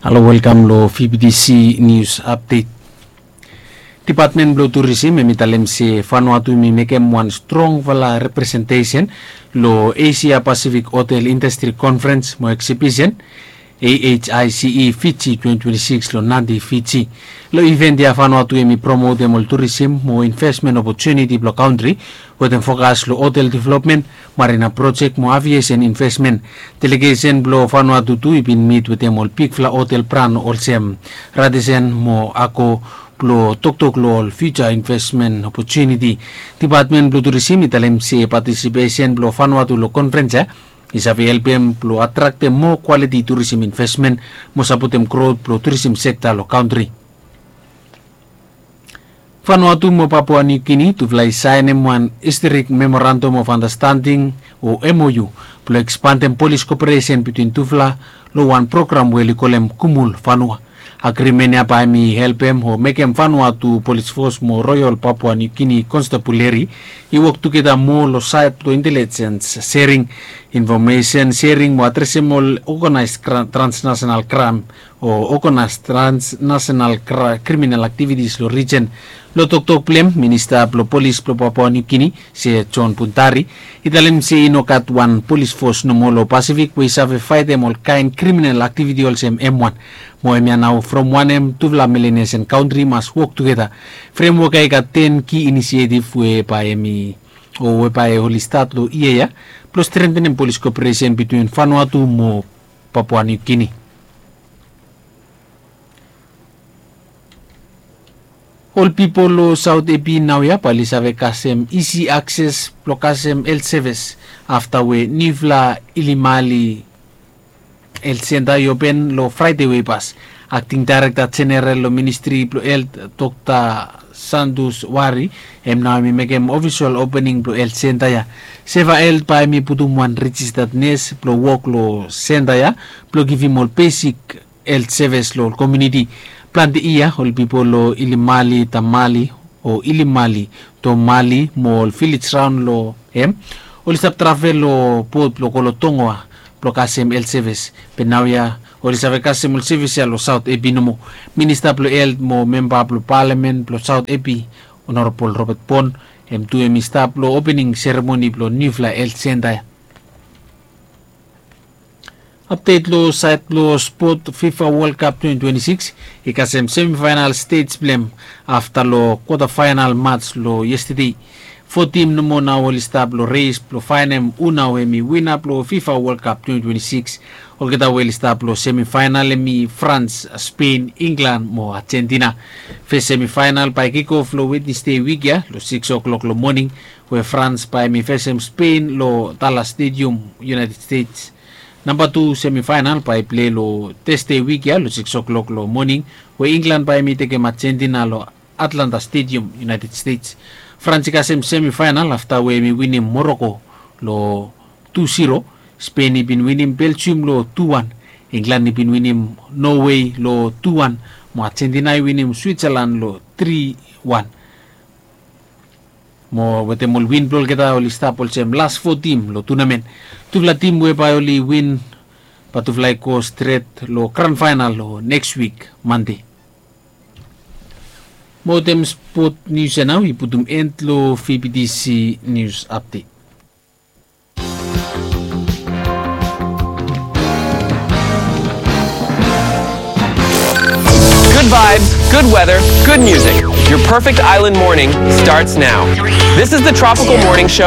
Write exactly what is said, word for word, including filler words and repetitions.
Halo, welkam lo V B T C News Update. Depatmen blo Turisim hem i talem se Vanuatu hem i mekem wan strongfala representesen lo Asia Pacific Hotel Industry Conference mo Exhibition, A H I C E Fiji twenty twenty-six lo Nadi, Fiji. Lo event ya Vanuatu hem i promotem ol turisim mo investment opportunity blo kantri wetem fokas lo hotel development, marina project mo aviation investment. Delegesen blo Vanuatu tu i bin mit wetem ol bigfala hotel bran olsem Radisson mo Accor blo toktok lo ol future investment opportunity. Depatmen blo Turisim i talem se participation blo Vanuatu lo conference ya i save helpem blo atraktem moa quality turisim investment mo sapotem growth blo turisim sekta lo kantri. Vanuatu mo Papua New Guinea tufala i saenem wan historic memorandum of understanding o M O U blo ekspandem polis koperesen bitwin tufala lo wan program we oli kolem Kumul Vanua. Agrimen ya bae hem i helpem o mekem Vanuatu Polis Fos mo Royal Papua New Guinea Constabulary i wok tugeta moa lo saed blo intelligence sharing, information sharing mo adresem ol organized transnational crime o organized transnational kriminal activities lo region. Lo toktok blong hem, Minista blo Polis blo Papua New Guinea, Sir John Buntari, i talem se i no gat wan polis fos nomo lo Pasifik we i save faetem ol kaen kriminal aktiviti olsem hem wan. Mo hemia nao from wanem tufala Melanesian kantri i mas wok tugeta. Fremwok ya i gat ten ki inisietif we bae hem i o we bae oli stat lo yia ya blo strengtenem polis koperesen bitwin Vanuatu mo Papua New Guinea. Ol pipol lo Saot Epi naoia bae oli save kasem isi akses blo kasem helt sevis afta we niufala Ilimali helt senta i open lo Fraede we i pas. Akting daerekta jeneral lo ministri blo helt, Dokta Santus Wari, hem nao hem i mekem ofisol opening blo helt senta ya. Seva Helt bae hem i putum wan rejistat nes blo wok lo senta ya blo givim ol besik helt sevis lo ol komuniti. Plante yia ol pipol lo Ilimali Tamali o Ilimali Tomali mo ol vilej raon lo hem oli stap travel lo bot blo go lo Tongoa blo kasem helt sevis. Be naoia oli save kasem ol sevis ya lo Saot Epi nomo. Minista blo Helt mo memba blo palamen blo Saot Epi, Honorabol Robert Bon, hem tu hem i stap lo opening seremoni blo niufala helt senta ya. Apdet lo saed blo spot, FIFA World Cup twenty twenty-six i kasem semifaenal stej blong hem afta lo kwata faenal mats lo yestede. Fo tim nomo nao oli stap lo res blo faenem hu nao hem i wina blo FIFA World Cup twenty twenty-six. Olgeta we oli stap lo semifaenal hem i Frans, Spen, Inglan mo Ajentina. Fes semifaenal bae kikof lo Wednesde wik ya lo sikis o'klok lo moning, we Frans bae hem i fesem Spen lo Dallas Stadium, United States. Namba tu semifaenal bae i plei lo Tasde wik ya lo sikis o'klok lo moning, we Inglan bae hem i tekem Ajentina lo Atlanta Stadium, United States. Frans i kasem semifaenal afta we hem i winim Moroko lo tu ziro. Spen i bin winim Beljium lo tu wan. Inglan i bin winim Nowe lo tu wan. Mo Ajentina i winim Switsalan lo tri wan. Mo wetem ol win blo olgeta oli stap olsem las fo tim lo tunamen. Tufala tim we bae oli win bae tufala i go stret lo gran faenal lo neks wik Mande. Mo wetem spot nius ya nao i putum en lo V B T C News Update. Good vibes, good weather, good music. Your perfect island morning starts now. This is the Tropical Morning Show.